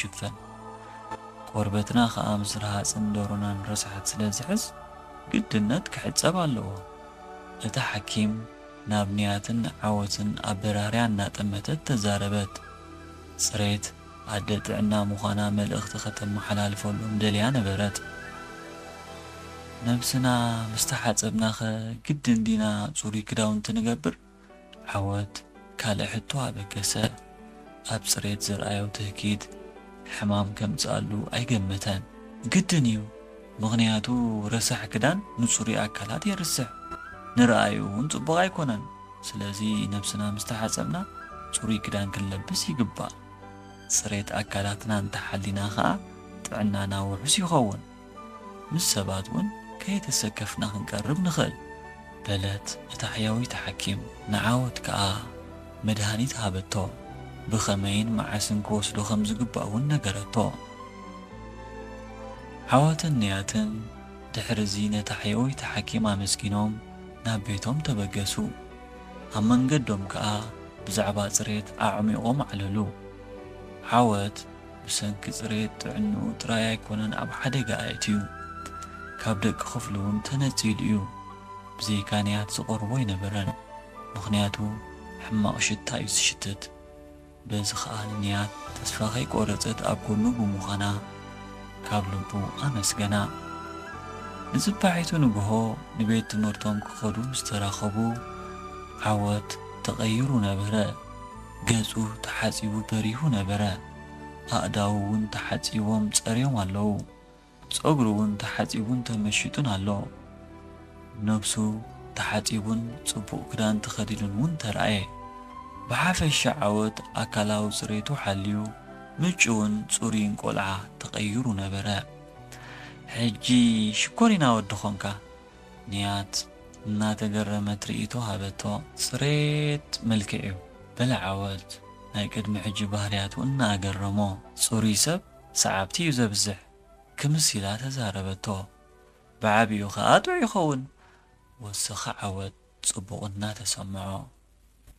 ይሽፈን። ቆርበትና ከኣ ምስ ረሃጽን ደሮናን ረሳሓት ስለ ዝሕዝ፣ ግድነት ክሕጸብ ኣለዎ። እታ ሓኪም ናብ ንያትን ዓወትን ኣበራርያ እናጠመተት ተዛረበት። ጽሬት ኣደ ጥዕና ምዃና መልእኽቲ ከተመሓላልፈሎም ደልያ ነበረት። ነብስና ምስ ተሓጸብናኸ ግድን ዲና ጽሩይ ክዳውንቲ ንገብር? ዓወት ካልእ ሕቶ ኣበገሰ። ኣብ ጽሬት ዘርኣዮ ትህኪት ሕማም ከምጽኣሉ ኣይገመተን። ግድን እዩ፣ ምኽንያቱ ረሳሕ ክዳን ንጽሩይ ኣካላት የርስሕ፣ ንረኣዩ እውን ጽቡቕ ኣይኮነን። ስለዚ ነብስና ምስ ተሓጸብና ጽሩይ ክዳን ክንለብስ ይግባእ። ጽሬት ኣካላትና እንተሓሊና ኸኣ ጥዕናና ውሑስ ይኸውን። ምስ ሰባት እውን ከይተሰከፍና ክንቀርብ ንኽእል፣ በለት እታ ሕያወይቲ ሓኪም። ንዓወት ከኣ መድሃኒት ሃበቶ። ብኸመይን መዓስን ክወስዶ ከም ዝግባእ እውን ነገረቶ። ዓወትን ንያትን ድሕርዚ ነታ ሕያወይቲ ሓኪም ኣመስጊኖም ናብ ቤቶም ተበገሱ። ኣብ መንገዶም ከኣ ብዛዕባ ጽሬት ኣዕሚቖም ኣዕለሉ። ዓወት ብሰንኪ ጽሬት ጥዕንኡ ጥራይ ኣይኮነን ኣብ ሓደጋ ኣእትዩ፣ ካብ ደቂ ክፍሉ እውን ተነጺሉ እዩ። ብዘይካ ንያት ዝቐርቦ ኣይነበረን፣ ምኽንያቱ ሕማቕ ሽታ እዩ ዝሽትት። በዚ ኸኣ ንንያት ተስፋ ከይቆረጸት ኣብ ጎኑ ብምዃና ካብ ልቡ ኣመስገና። ንጽባሒቱ ንግሆ ንቤት ትምህርቶም ክኸዱ ምስ ተራኸቡ፣ ዓወት ተቐይሩ ነበረ። ገጹ ተሓጺቡ በሪሁ ነበረ። ኣእዳዉ እውን ተሓጺቦም ጸርዮም ኣለዉ። ጸጉሩ እውን ተሓጺቡን ተመሺጡን ኣሎ። ነብሱ ተሓጺቡን ጽቡቕ ክዳን ተኸዲኑን እውን ተራእየ። ብሓፈሻ ዓወት ኣካላዊ ጽሬቱ ሓልዩ ምጭውን ጽሩይን ቆልዓ ተቐይሩ ነበረ። ሕጂ ሽኮሪና ወዲ ኾንካ፣ ንያት እናተገረመት ርእይቶ ሃበቶ። ጽሬት መልክዕ እዩ፣ በለ ዓወት ናይ ቅድሚ ሕጂ ባህርያቱ እናኣገረሞ። ጽሩይ ሰብ ሰዓብቲ እዩ ዘብዝሕ፣ ክምስ ኢላ ተዛረበቶ። ብዓቢኡ ኸኣ ጥዑይ ይኸውን፣ ወሰኸ ዓወት ጽቡቕ እናተሰምዖ።